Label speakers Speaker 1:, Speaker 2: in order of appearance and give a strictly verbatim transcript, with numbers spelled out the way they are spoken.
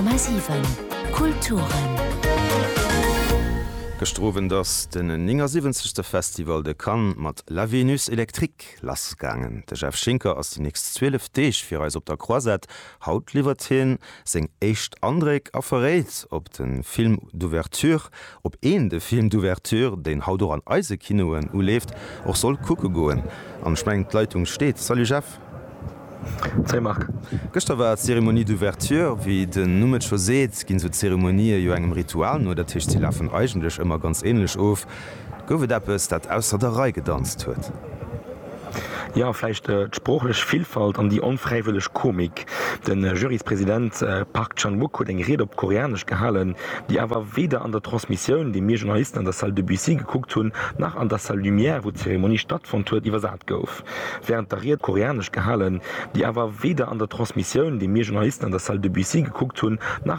Speaker 1: Komma siwen Kulturen.
Speaker 2: Gëschter Owend ass den néngasiwwenzegste Festival de Cannes mat La Vénus électrique lassgaangen. De Jeff Schinker ass déi nächst zwielef Deeg fir eis op der Croisette. Haut liwwert hien seng éischt Andréck a verréit, ob de Film d'ouverture, ob een de Film d'ouverture, deen haut och an eise Kinoen uleeft, och soll kucke goen. An ech mengen, d'Leitung steet. Salut Jeff.
Speaker 3: Salut Marc.
Speaker 2: Gëschter war d'Cérémonie d'ouverture. Wéi den Numm et scho seet, ginn esou Zeremonië jo engem Ritual no, dat heescht, si lafen eigentlech ëmmer ganz änlech of. Gouf et eppes, dat ausser der Rei gedanzt huet?
Speaker 3: Jo, vläicht d'sproochlech Villfalt an déi onfräiwëlleg Komik. De Juryspresident Park Chan-wook huet eng Ried op Koreanesch gehalen, déi awer weder an der Transmissioun, déi mir Journalisten an der Salle Debussy gekuckt hunn, nach an der Salle Lumière, wou d'Zeremonie stattfonnt huet, iwwersat gouf. Wärend der Ried Koreanesch gehalen, déi awer weder an der Transmissioun, déi mir Journalisten an der Salle Debussy gekuckt hunn, nach.